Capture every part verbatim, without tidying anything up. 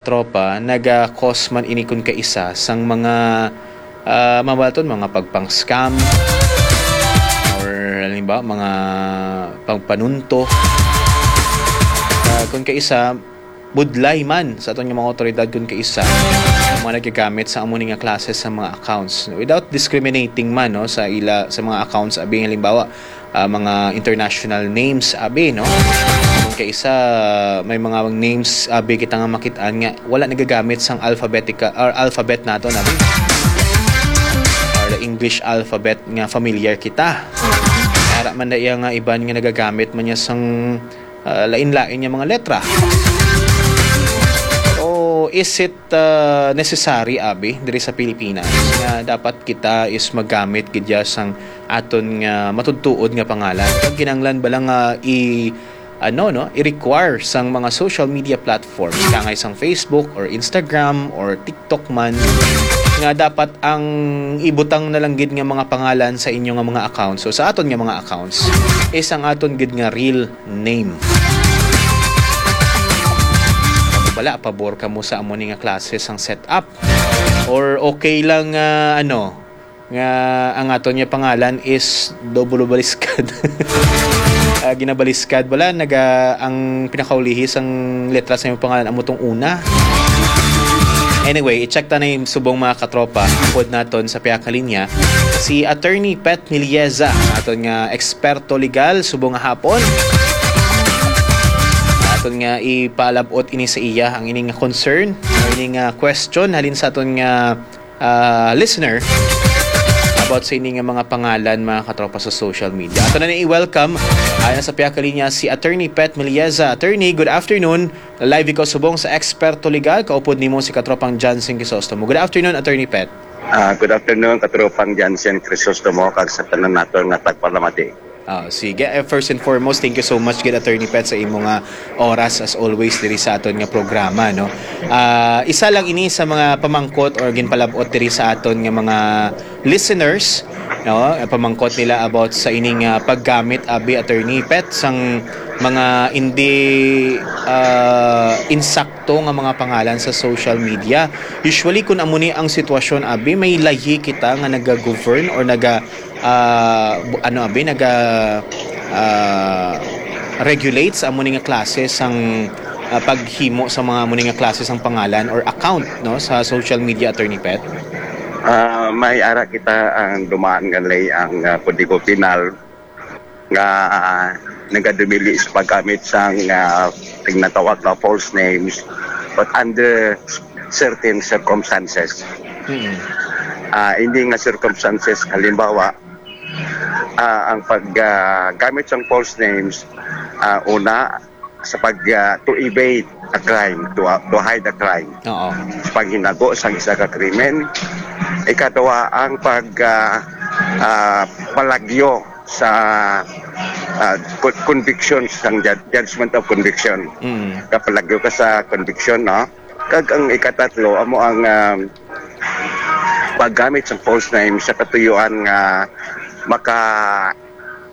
Tropa, naga-cause man ini kun kaisa sang mga, ah, mabaton, mga pagpang-scam or, halimbawa, mga pagpanunto. Ah, kun kaisa, budlay man sa aton nga mga awtoridad kun kaisa ang mga nagagamit sa amo ni nga klase sa mga accounts. Without discriminating man, no, sa ila, sa mga accounts, abi, halimbawa, ah, mga international names, abi, no? Kun kaisa, may mga names, abi, kita nga makit-an nga wala nagagamit sang alphabetical or alphabet naton, abi. Or the English alphabet nga familiar kita. Ara man na iya nga iban nga nagagamit man niya sang, ah, lain-lain nga mga letra. O is it, ah, necessary, abi, diri sa Pilipinas nga dapat kita is magamit gid ya sang aton nga matudtuod nga pangalan? Kag kinahanglan bala nga i-, ano, no, i-require sang mga social media platforms, kangay sang Facebook or Instagram or TikTok man, nga dapat ang ibutang na lang gid nga mga pangalan sa inyo nga mga accounts, so sa aton nga mga accounts, is ang aton gid nga real name. Bala, pabor kamo sa amo ni nga klase sang setup? Or okay lang, ah, ano, nga ang aton nga pangalan is double baliskad? Ah, ginabaliskad bala, naga, ang pinakaulihi sang letra sa imong pangalan amo tong una. Anyway, i-check ta na yung subong, mga katropa. Upod naton sa pihak nga linya, si Attorney Pet Milieza, aton nga eksperto legal subong nga hapon. Aton nga ipalab-ot ini sa iya, ang ini nga concern, ang ini nga question halin sa aton nga, ah, listener about sa ini nga mga pangalan, mga katropa, sa social media. Ato na ni i-welcome, ah, sa pihak nga linya, si Attorney Pet Milieza. Attorney, good afternoon. Live ikaw subong sa Eksperto Legal. Kaupod nimo si katropang Johnson Crisostomo. Good afternoon, Attorney Pet. Ah, good afternoon, katropang Johnson Crisostomo, kag sa tanan naton nga tagpalamati. Ah, sige. Eh, first and foremost, thank you so much gid, Attorney Pet, sa imo nga oras, as always, diri sa aton nga programa, no? Ah, isa lang ini sa mga pamangkot or ginpalab-ot diri sa aton nga mga listeners, no? Pamangkot nila about sa ining, ah, paggamit, abi, Attorney Pet, sang mga hindi, ah, insakto nga mga pangalan sa social media. Usually, kung amo ni ang sitwasyon, abi, may lahi kita nga naga-govern or naga, ah, bu-, ano, abi, naga, ah, regulate sa amo ni nga klase sang, ah, paghimo sa mga amo ni nga klase sang pangalan or account, no, sa social media, Attorney Pet? Ah, may ara kita ang dumaan nga ley, ang, ah, Kodigo Penal nga, ah, nagadumili sa paggamit sang, ah, ginatawag na false names, but under certain circumstances. Mm. Ah, hindi nga circumstances, halimbawa, ah, ang pag, ah, gamit sang false names, ah, una, sa pag, ah, to evade a crime, to, ah, to hide a crime. Oo. Sa paghinago sang isa ka krimen. Ikadua, ang pag, ah, ah, palagyo sa, ah, co-, conviction, sang jud-, judgment of conviction. Mm. Kapalagyo ka sa conviction, no? Kag ang ikatatlo, amo ang, ah, paggamit sa false name sa katuyuan nga maka-,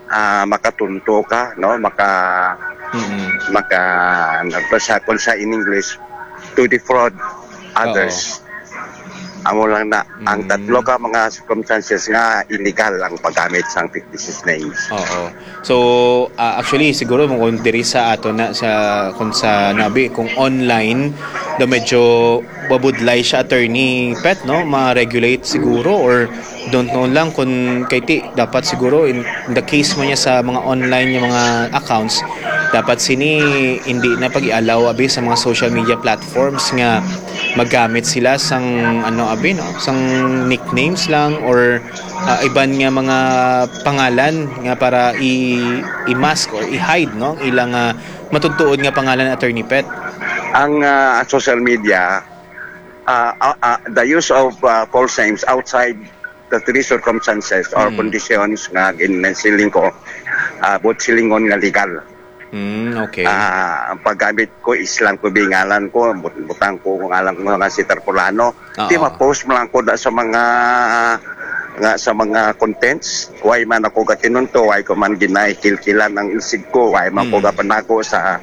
ah, makatunto ka, no? Maka-, Mm. maka-, ano to sa, kung sa in English, to defraud others. Oo. Amo lang na. Ang Mm. tatlo ka mga circumstances nga illegal ang paggamit sang fictitious names. Oo. So, ah, actually, siguro mo kung diri sa ato na sa, kung sa nabi, kung online, do medyo babudlay siya, Attorney Pet, no? Ma-regulate siguro, or don't know lang kung kay ti, dapat siguro in, in the case mo niya sa mga online nga mga accounts, dapat sini hindi na pag-i-allow, abi, sa mga social media platforms nga magamit sila sang, ano, abi, no? Sang nicknames lang or, ah, iban nga mga pangalan nga para i-, i-mask or i-hide, no? Ilang, ah, matudtuod nga pangalan, Attorney Pet. Ang, ah, social media, ah, ah, ah, the use of, ah, false names outside the three circumstances or Mm. conditions nga ginsiling ko, ah, buot silingon nga legal. Mm, okay. Ah, ang paggamit ko is lang ko, bingalan ko, but-, butang ko ngalan ko nga si Tarpulano. Oo. Di ma-post mo lang ko na sa mga, nga sa mga contents. Why man ako gatinunto, why ko man ginaikilkilan ang isig ko, why man ko Mm. gapanago sa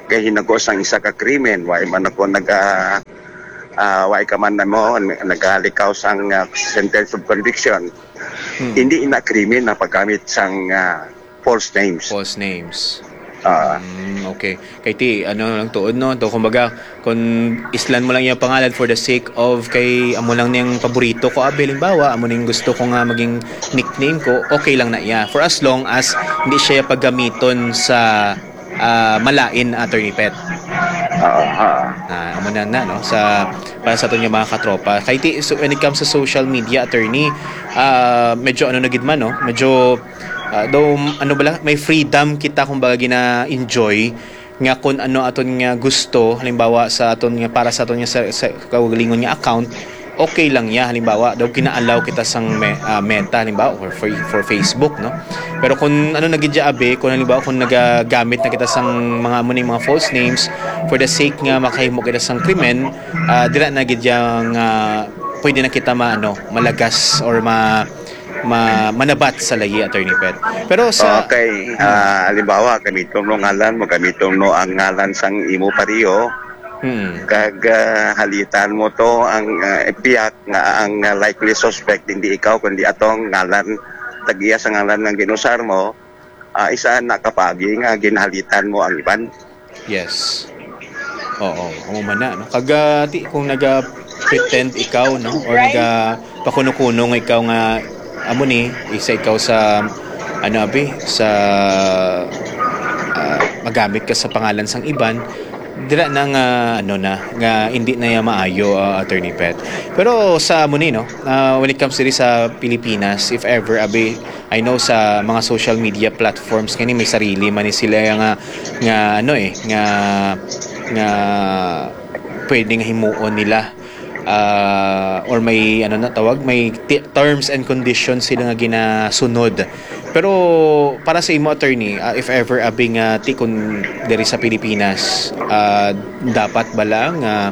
Kay hinago sang isa ka krimen, wa man ako naga, ah, wa ka man namo nagalikaw sang, ah, sentence of conviction. Hmm. Hindi ina krimen na paggamit sang, ah, false names. False names. Ah. Mm, okay. Kay ti, ano lang tuod, no? To, kumbaga, kung islan mo lang yung pangalan for the sake of kay amo lang niyang paborito ko, abi, halimbawa, amo ning gusto ko nga maging nickname ko, okay lang na iya. For as long as hindi siya paggamiton sa, ah, malain, Attorney Pet. Oo, oo. Ah, amo na na, no? Sa, para sa aton nga mga katropa. Kay ti, so, when it comes to social media, Attorney, ah, medyo ano na gid man, no? Medyo, ah, daw, ano bala, may freedom kita, kumbaga, gina-enjoy nga kung ano aton nga gusto, halimbawa sa aton nga, para sa aton nga sa, sa kaugalingon nga account, okay lang ya. Halimbawa, daw gina-allow kita sang me-, ah, Meta, halimbawa, or for, for Facebook, no? Pero kung ano na gid ya, abi, kung halimbawa, kung nagagamit na kita sang mga amo ning mga false names for the sake nga makahimo kita sang krimen, ah, dira na gid ya nga pwede na kita ma-, ano, malagas or ma-, ma-, manabat sa layi, Attorney Pet. Pero sa Okay, ah, halimbawa, gamiton mo ngalan mo, gamiton mo ang ngalan sang imo pariyo, Hmm. kag, ah, halitan mo to ang, ah, biyak nga ang, ah, likely suspect hindi ikaw kundi atong ngalan, tag-iya sa ngalan nga ginusar mo, ah, isa na ka paagi nga ginhalitan mo ang iban. Yes. Oo, amo man na, no? Kag, ah, ti, kung naga-pretend ikaw, no? Or naga pakuno-kuno nga ikaw nga, amo ni, isa ikaw sa, ano, abi, sa, ah, magamit ka sa pangalan sang iban, dira na nga, ano na, nga hindi na ya maayo, ah, Attorney Pet. Pero sa amo ni, no, ah, when it comes diri sa Pilipinas, if ever, abi, I know sa mga social media platforms nga ni may sarili man ni sila nga, nga, ano, eh, nga, nga pwede nga himuon nila, ah, or may, ano na tawag, may ti-, terms and conditions sila nga ginasunod. Pero para sa imo, Attorney, ah, if ever, abi, nga ti, kun diri sa Pilipinas, ah, dapat ba lang nga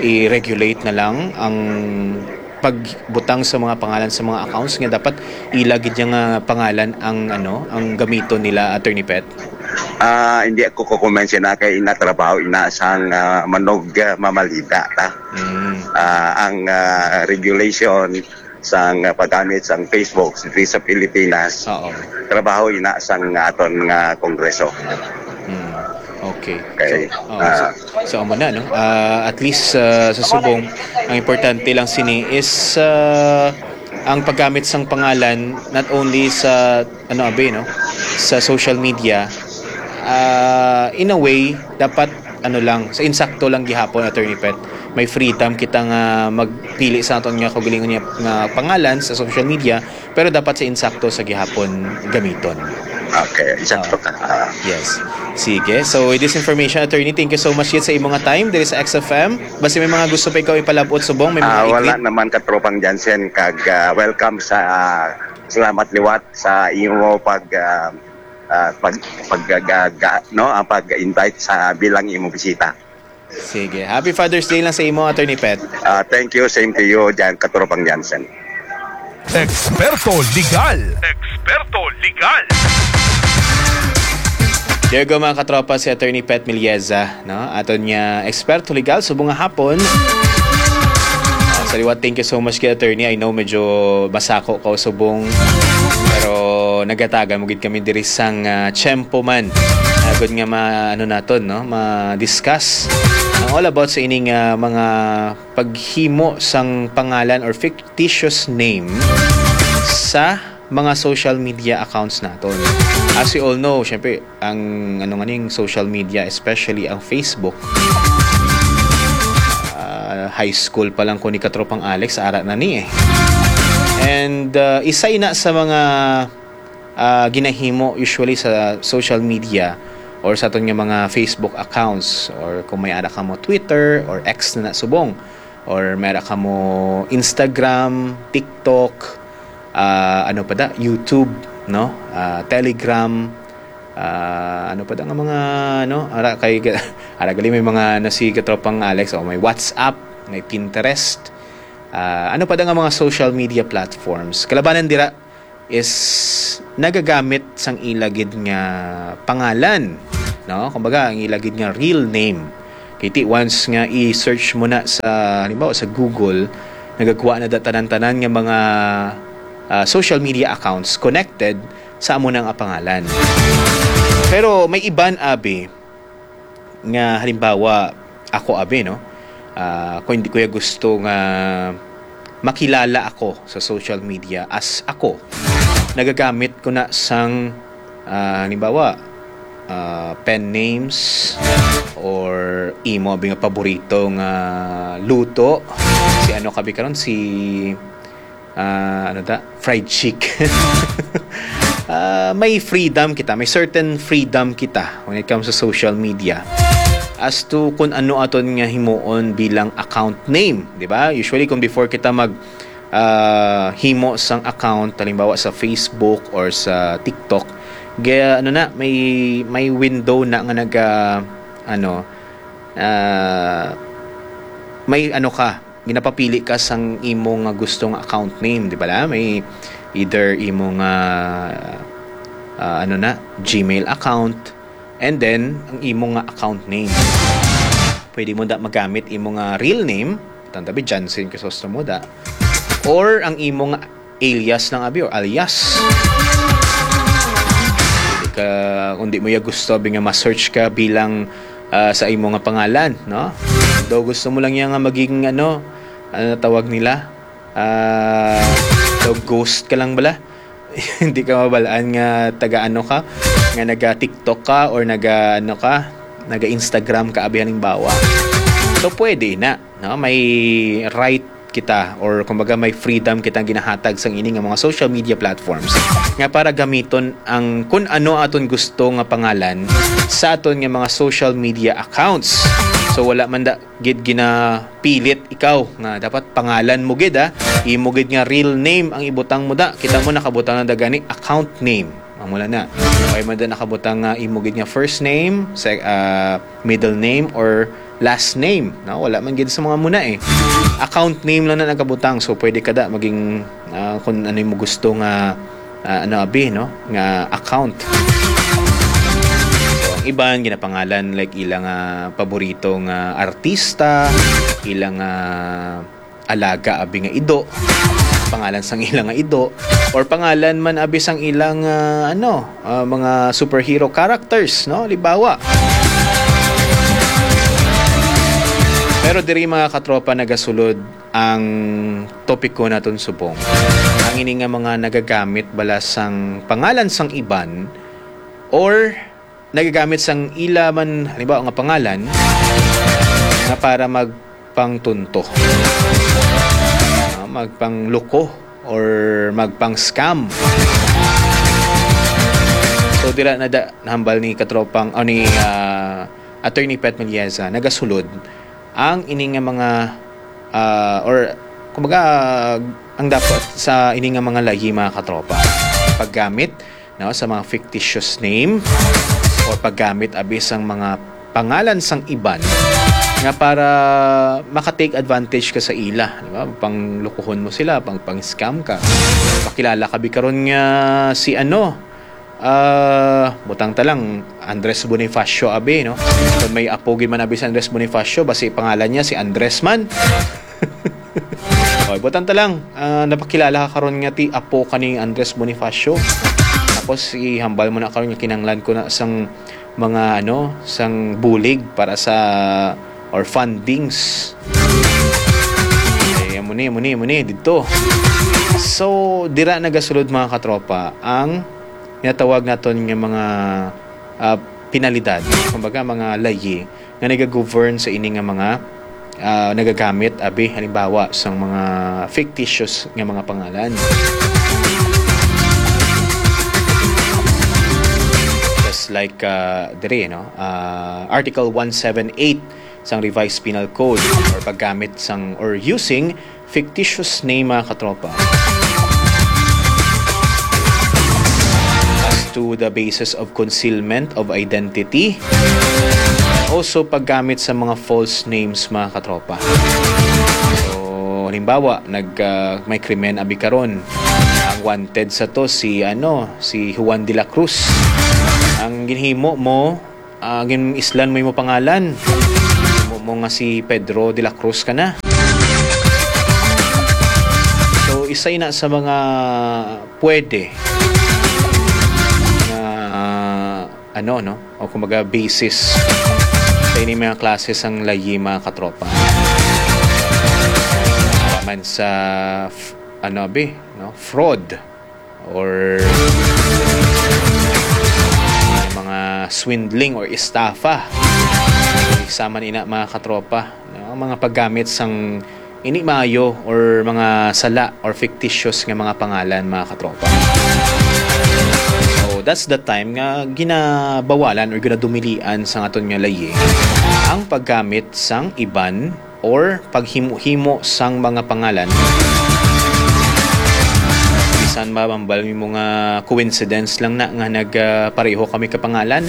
i-regulate na lang ang pagbutang sa mga pangalan sa mga accounts, nga dapat ila gid nga pangalan ang, ano, ang gamiton nila, Attorney Pet? Ah, hindi ako kukumensi na kay ina trabaho ina sang, ah, manog, ah, mamalida ta. Mm. Ah, ang, ah, regulation sang, ah, paggamit sang Facebook diri sa Pilipinas, Oo. trabaho ina sang aton nga Kongreso. Mm. Okay. Okay. So, oo, Ah. so, so, amo na, no? Ah, at least, ah, sa subong, ang importante lang sini is, ah, ang paggamit sang pangalan, not only sa, ano, abi, no? Sa social media, ah, in a way, dapat, ano lang, sa insakto lang gihapon, Attorney Pet. May freedom kita nga magpili sa aton nga kaugalingon nga, nga pangalan sa social media, pero dapat sa insakto sa gihapon gamiton. Okay, insakto Oo. ka. Ah. Yes. Sige. So, with this information, Attorney, thank you so much yet sa imong nga time diri sa X F M. Basta may mga gusto pa ikaw ipalabot subong, may mga Ah, wala igwit? naman, Katropang Jansen, kag, ah, welcome sa, ah, salamat liwat sa imo pag, ah, ah, pag, pag, ga-, ga-, no, ang pag-invite sa bilang imong bisita. Sige. Happy Father's Day lang sa imo, Attorney Pet. Ah, thank you. Same to you, Jan, Katropang Jansen. Eksperto Legal. Eksperto Legal. There you go, mga katropa, si Attorney Pet Milieza, no? Aton nga eksperto legal, subong nga hapon. Ah, sa liwat, thank you so much kay Attorney. I know medyo masako ka subong, pero nagatagan mo gid kami diri sang, ah, tiyempo man. Agod nga ma-, ano naton, no? Ma-discuss ang all about sa ining, ah, mga paghimo sang pangalan or fictitious name sa mga social media accounts naton. As we all know, syempre, ang ano nga ning social media, especially ang Facebook, ah, high school pa lang ko ni Katropang Alex, ara na ni eh. And, ah, isa ina sa mga, ah, ginahimo usually sa social media or sa aton nga mga Facebook accounts, or kung may ara ka mo Twitter or X na na subong, or may ara ka mo Instagram, TikTok, ah, ano pa da, YouTube, no? Ah, Telegram, ah, ano pa da nga mga, ano, ara kay, ara gali may mga, ano, si Katropang Alex, o may WhatsApp, may Pinterest, ah, ano pa da nga mga social media platforms. Kalabanan dira is nagagamit sang ila gid nga pangalan, no? Kumbaga, ang ila gid nga real name. Kay ti once nga i-search mo na sa, halimbawa, sa Google, nagagwa na da tanan-tanan nga mga, ah, social media accounts connected sa amo na nga pangalan. Pero may iban, abi, nga halimbawa, ako, abi, no? Ah, kung hindi ko ya gusto nga makilala ako sa social media as ako, nagagamit ko na sang, ah, halimbawa, ah, pen names or imo, abi, nga paborito nga luto. Si ano ka, abi, karon? Si, ah, ano ta? Fried chicken. Ah, may freedom kita, may certain freedom kita when it comes to social media as to kung ano aton nga himuon bilang account name, di ba? Usually, kung before kita mag, ah, himo sang account, halimbawa sa Facebook or sa TikTok, gaya, ano na, may, may window na nga naga, ano, ah, may ano ka, ginapapili ka sang imo nga gusto nga account name, di ba la? May either imo nga, ah, ano na, Gmail account, and then ang imo nga account name. Pwede mo da magamit imo nga real name, tanda bi, Jansen Crisostomo da, or ang imo nga alias lang, abi, or alias. Pwede ka, kung di mo ya gusto, abi, nga ma-search ka bilang, ah, sa imo nga pangalan, no? Daw gusto mo lang yan nga maging, ano, ano na tawag nila? Ah, daw ghost ka lang bala? Hindi ka mabalaan nga taga ano ka, nga naga-TikTok ka or naga ano ka, naga-Instagram ka, abi, halimbawa. So, pwede na, no? May right kita, or kumbaga may freedom kita ginahatag sang ini nga mga social media platforms nga para gamiton ang kun ano aton gusto nga pangalan sa aton nga mga social media accounts. So, wala man da gid ginapilit ikaw nga dapat pangalan mo gid, ah. Imo gid nga real name ang ibutang mo da. Kita mo, nakabutang na da gani account name. Amo na na. Okay man da nakabutang nga imo gid nga first name, se-, ah, middle name, or last name, no? Wala man gid sa mga muna, eh. Account name lang na nakabutang, so pwede ka da maging, ah, kung ano yung gusto nga, ah, ano, abi, no? Nga account. So, ang iban ginapangalan, like, ilang, ah, paborito nga artista, ilang, ah, alaga, abi, nga ido, pangalan sang ila nga ido, or pangalan man, abi, sang ilang, ah, ano, ah, mga superhero characters, no? Libawa. Pero diri, mga katropa, nagasulod ang topiko naton subong. Ang ini nga mga nagagamit bala sang pangalan sang iban or nagagamit sang ila man, halimbawa, nga pangalan nga para magpangtunto, ah, magpangluko, or magpang-scam. So, dira na da, nahambal ni katropang, o ni, ah, Attorney Pet Melieza, nagasulod ang ini nga mga, ah, or kumbaga, ang dapat sa ini nga mga layi, mga katropa, paggamit, no, sa mga fictitious name or paggamit, abi, sang mga pangalan sang iban nga para maka-take advantage ka sa ila, di ba? Panglukuhon mo sila, pang, pang-scam ka. Pakilala ka bi karon nga si ano, ah, butang ta lang, Andres Bonifacio, abi, no? Kung may apo gid man, abi, si Andres Bonifacio, basi pangalan niya si Andres man. Oy, butang ta lang, ah, napakilala ka karon nga ti apo ka ni Andres Bonifacio. Tapos ihambal mo na karon nga kinahanglan ko na sang mga, ano, sang bulig para sa, or fundings. Eh, amo ni, amo ni, amo ni, didto. So, dira nagasulod, mga katropa, ang ginatawag naton nga mga, ah, penalidad, kumbaga, mga layi nga nagagovern sa ini nga mga, ah, nagagamit, abi, halimbawa, sang mga fictitious nga mga pangalan. Just like, ah, diri, no? Ah, Article one seven eight sang Revised Penal Code, or paggamit sang, or using fictitious name, mga katropa, as to the basis of concealment of identity. Also, paggamit sa mga false names, mga katropa. So, halimbawa, nag, ah, may krimen abi karon. Ang wanted sa to si, ano, si Juan de la Cruz. Ang ginhimo mo, Ah, gin-islan mo imo pangalan. Mo, mo nga si Pedro de la Cruz ka na. So, isa ina sa mga pwede nga, ah, ano, no? O kumbaga, basis sa ini mga klase sang layi, mga katropa. Para man sa, f-, ano, abi, no? Fraud or mga swindling or estafa. Isa man ina, mga katropa, no? Ang mga paggamit sang hindi maayo or mga sala or fictitious nga mga pangalan, mga katropa. So, that's the time nga ginabawalan or ginadumilian sa aton nga layi ang paggamit sang iban or paghimo-himo sang mga pangalan. Bisan ba, mambal mo nga coincidence lang na nga nag, ah, pareho kami ka pangalan?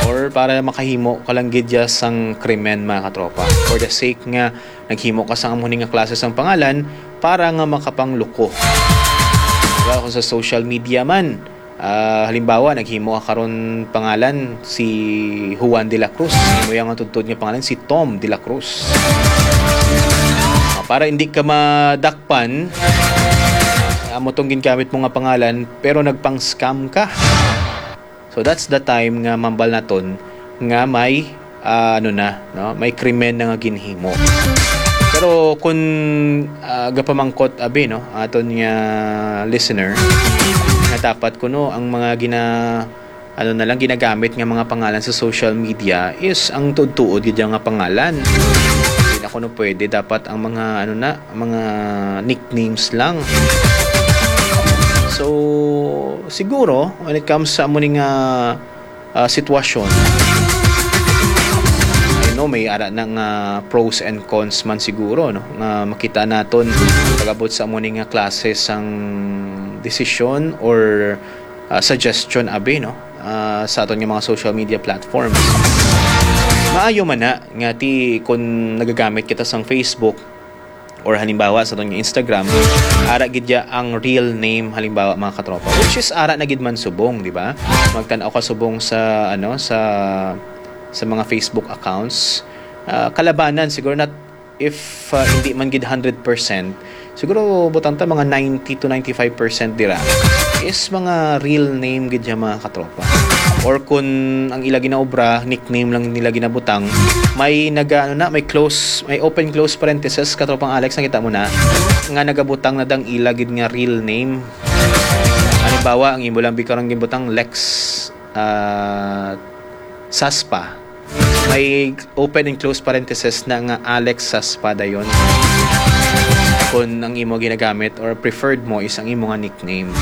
Or para makahimo ka lang gid ya sang krimen, mga katropa? For the sake nga naghimo ka sang amo ni nga klase sang pangalan para nga makapangluko. Diba, kung sa social media man, ah, halimbawa, naghimo ka karon pangalan si Juan de la Cruz. Imo yang tudtod nga pangalan si Tom de la Cruz. Ah, para hindi ka madakpan, amo tong gingamit mo nga pangalan, pero nagpang-scam ka. So, that's the time nga mambal naton nga may, ah, ano na, no? May krimen na nga ginhimo. Pero kung, ah, gapamangkot, abi, no, aton nga listener, nga dapat kuno ang mga gina-, ano na lang, ginagamit nga mga pangalan sa social media is ang tuod-tuod gid nga pangalan. Hindi na kuno pwede. Dapat ang mga, ano na, mga nicknames lang. So, siguro, when it comes sa amo ni nga, ah, sitwasyon, I know may ara na nga pros and cons man siguro, no, nga makita naton pag-abot sa amo ni nga klase sang desisyon or, ah, suggestion, abi, no, ah, sa aton nga mga social media platforms. Maayo man na nga ti kung nagagamit kita sang Facebook, or halimbawa sa aton nga Instagram, ara gid ya ang real name, halimbawa, mga katropa, which is ara na gid man subong, di ba? Magtan-aw ka subong sa, ano, sa, sa mga Facebook accounts. Ah, kalabanan siguro, not if, ah, hindi man gid hundred percent, siguro butang ta mga ninety to ninety-five percent dira is mga real name gid ya, mga katropa. Or kun ang ila ginaobra, nickname lang nila ginabutang, may naga-, ano na, may close, may open close parenthesis, katropang Alex, nakita mo na, nga nagabutang na dang ila gid nga real name. Halimbawa, ang imo lang bi karon ginbutang, Lex, ah, Saspa. May open and close parenthesis na nga Alex Saspa dayon. Kung ang imo ginagamit or preferred mo is ang imo nga nickname.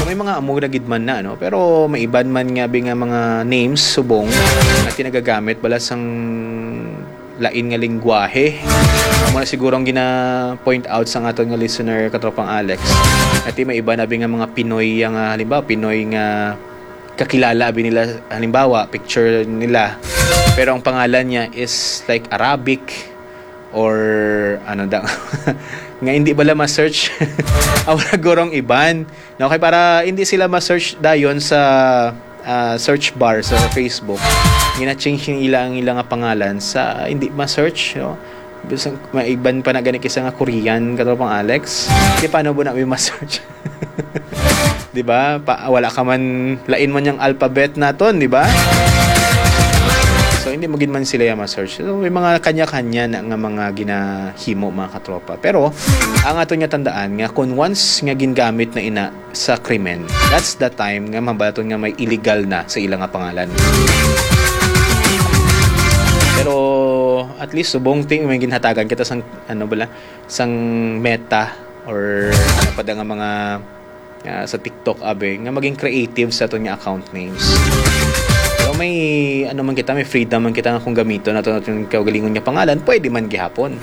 So, may mga amo na gid man na, no? Pero may iban man nga bi nga mga names subong nga tinagagamit bala sang lain nga lingwahe. Amo na siguro ang gina-point out sa aton nga listener, katropang Alex. Ati may iba na bi nga mga Pinoy nga, halimbawa, Pinoy nga kakilala abi nila, halimbawa, picture nila, pero ang pangalan niya is like Arabic or ano daw, nga hindi bala ma-search. Aw, gurong iban. No, kay para hindi sila ma-search dayon sa, ah, search bar sa Facebook, gina-change yung ilang, ilang nga pangalan sa hindi ma-search, no? Bisan may iban pa na gani kisa nga Korean, katropang Alex. Di paano mo na may ma-search? Di ba? Pa, wala ka man, lain man yung alphabet naton, di ba? So, hindi mo gid man sila yung ma-search. So, may mga kanya-kanya na nga mga ginahimo, mga katropa. Pero, ang aton nga tandaan nga kung once nga gingamit na ina sa krimen, that's the time nga mabaton nga may illegal na sa ila nga pangalan. Pero, at least, subong ting may ginhatagan kita sang, ano bala, sang Meta or ano pa da nga mga, ah, sa TikTok, abi, nga maging creative sa aton nga account names. Pero may, ano man kita, may freedom man kita nga kung gamiton nato naton kaugalingon nga pangalan, pwede man gihapon.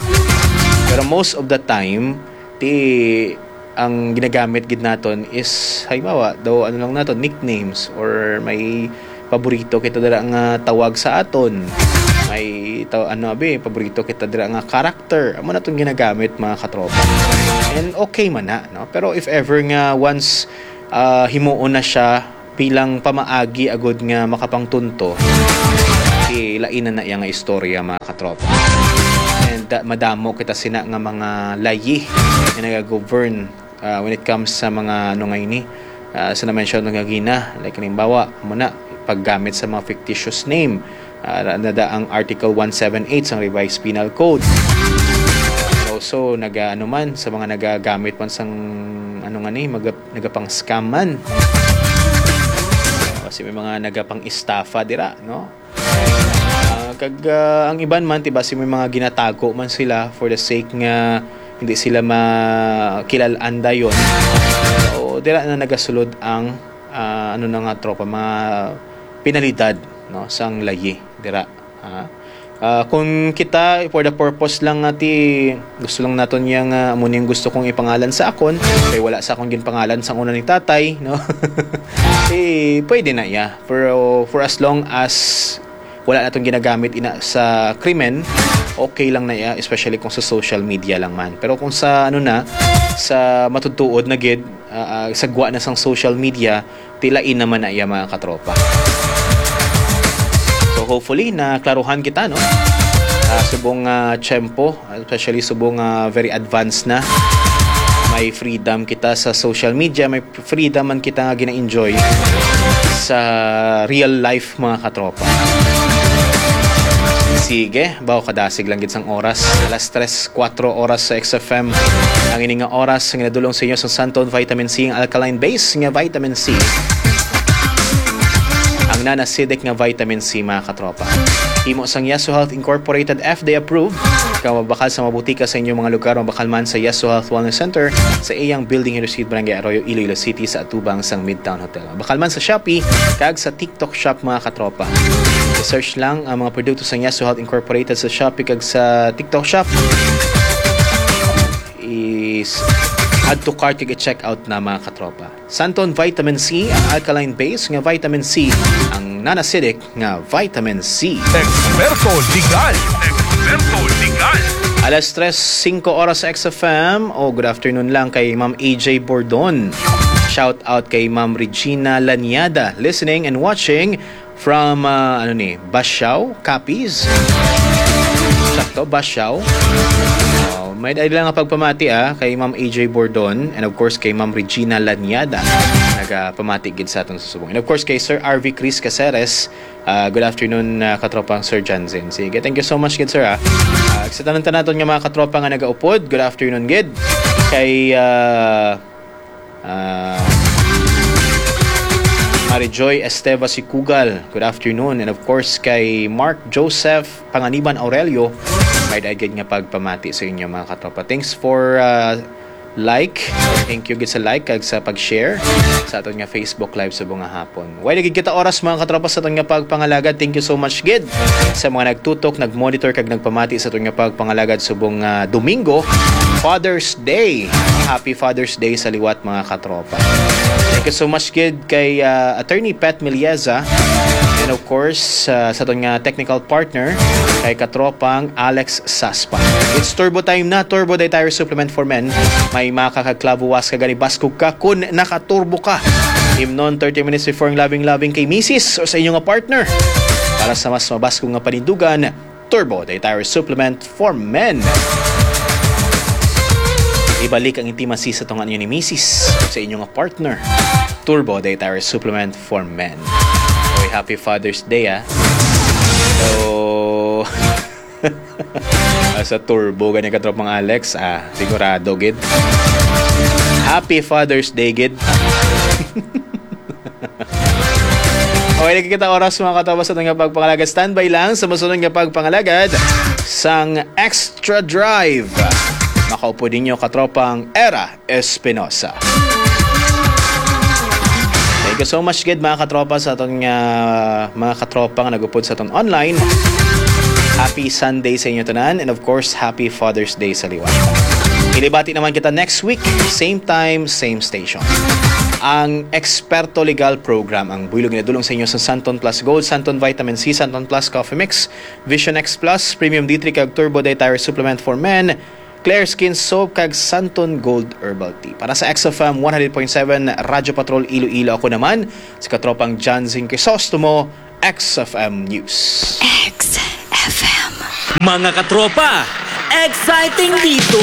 Pero most of the time, ti ang ginagamit gid naton is, halimbawa, daw, ano lang naton, nicknames, or may paborito kita dira nga tawag sa aton. May taw-, ano, abi, paborito kita dira nga character. Amo na tong ginagamit, mga katropa. And okay man na, no? Pero if ever nga once, ah, himuon na siya, bilang pamaagi agud nga makapangtunto, ilain na na iya nga istorya, mga katropa. And, ah, madamo kita sina nga mga layi nga nagagovern, ah, when it comes sa mga, ano nga ini, ah, sa na-mention nga gina, like, halimbawa, muna, paggamit sa mga fictitious name, ah, na, na ang Article one seven eight sang Revised Penal Code. Also, naga-, ano man, sa mga nagagamit man sang, ano nga ni, maga-, nagapang-scam man. O, si may mga nagapang-estafa dira, no? Ah, kag, ah, ang iban man, tiba, si may mga ginatago man sila for the sake nga hindi sila makilal-an dayon. O, dira na nagasulod ang, ah, ano na nga, tropa, mga penalidad, no, sang layi, dira. Ah, ah, kung kita, for the purpose lang nga ti, gusto lang naton niya nga amo ning gusto kong ipangalan sa akon, kay wala sa akon ginpangalan sang una ni tatay, no? Eh, pwede na iya. For, for as long as wala naton ginagamit ina sa krimen, okay lang na iya, especially kung sa social media lang man. Pero kung sa, ano na, sa matutuod na gid, ah, ah, sagwa na sang social media, tilain naman na iya, mga katropa. So, hopefully, naklaruhan kita, no? Sa subong, ah, tiyempo, especially subong, ah, very advanced na. May freedom kita sa social media, may freedom man kita nga gina-enjoy sa real life, mga katropa. Sige, bawo kadasig lang gid sang oras. Alas tres, kuwatro oras sa X F M. Ang ini nga oras nga nadulong sa inyo sang Santon Vitamin C, ang alkaline base nga vitamin C. Ang non-acidic nga vitamin C, mga katropa. Himo sang Yaso Health Incorporated, F D A approved. Kung mabakal sa mga butika sa inyong mga lugar, mabakal man sa Yaso Health Wellness Center, sa iyang building, Hiroshige, Barangay Arroyo, Iloilo City, sa atubang sang Midtown Hotel. Mabakal man sa Shopee, kag sa TikTok Shop, mga katropa. I-search lang ang mga produkto sa Yaso Health Incorporated sa Shopee kag sa TikTok Shop. Is add to cart kag i-check out na, mga katropa. Santon Vitamin C, ang alkaline base nga vitamin C, ang non-acidic nga vitamin C. Eksperto Legal. Eksperto Legal. Alas tres singko oras sa X F M. Oh, good afternoon lang kay Ma'am A J Bordon. Shout out kay Ma'am Regina Laniada, listening and watching from, ah, ano ni, Basiao, Capiz. Sakto, Basiao. Oh, may dali lang nga pagpamati, ah, kay Ma'am A J Bordon and of course kay Ma'am Regina Laniada. Nagapamati gid sa aton sa subong. And of course kay Sir R V Chris Caceres. Ah, good afternoon, ah, katropang Sir Janzen. Sige, thank you so much gid, sir, ah. Ah, sa tanan-tanan naton nga mga katropa nga nagaupod, good afternoon gid. Kay, ah, ah, Marijoy Esteva Sikugal, good afternoon. And of course, kay Mark Joseph Panganiban Aurelio, may daigid nga pagpamati sa inyo, mga katropa. Thanks for, ah, like. Thank you gid sa like kag sa pag-share sa aton nga Facebook Live subong nga hapon. Way lagi kita oras, mga katropa, sa aton nga pagpangalagad. Thank you so much gid sa mga nagtutok, nagmonitor kag nagpamati sa aton nga pagpangalagad subong nga Domingo, Father's Day. Happy Father's Day sa liwat, mga katropa. Thank you so much gid kay, ah, Attorney Pat Milieza and of course, ah, sa aton nga technical partner kay katropang Alex Saspa. It's Turbo Time na, Turbo Day Tire Supplement for Men. May makakagklabuwas ka gani, baskog ka kun nakaturbo ka. Imnon thirty minutes before ang labing-labing kay misis o sa inyo nga partner. Para sa mas mabaskog nga panindugan, Turbo Day Tire Supplement for Men. Ibalik ang intimacy sa tunga ninyo ni misis o sa inyo nga partner. Turbo Day Tire Supplement for Men. Oy, happy Father's Day, ah. So, ah, sa turbo gani, katropang Alex, ah, sigurado gid. Happy Father's Day gid. Okay, lagi kita oras, mga katropa, sa aton nga pagpangalagad. Standby lang sa masunod nga pagpangalagad sang Extra Drive. Makaupod ninyo, katropang Era Espinosa. Thank you so much gid, mga katropa, sa aton nga, mga katropa nga nagupod sa aton online. Happy Sunday sa inyo tanan, and of course, happy Father's Day sa liwat. Ilibati naman kita next week, same time, same station. Ang Eksperto Legal Program, ang buylog nga nadulong sa inyo sa Santon Plus Gold, Santon Vitamin C, Santon Plus Coffee Mix, Vision X Plus, Premium D three kag Turbo Day Tire Supplement for Men, Claire Skin Soap, kag Santon Gold Herbal Tea. Para sa X F M one hundred point seven Radyo Patrol Iloilo, ako naman, si Katropang John Zing Crisostomo, X F M News. X F M. Mga katropa, exciting dito!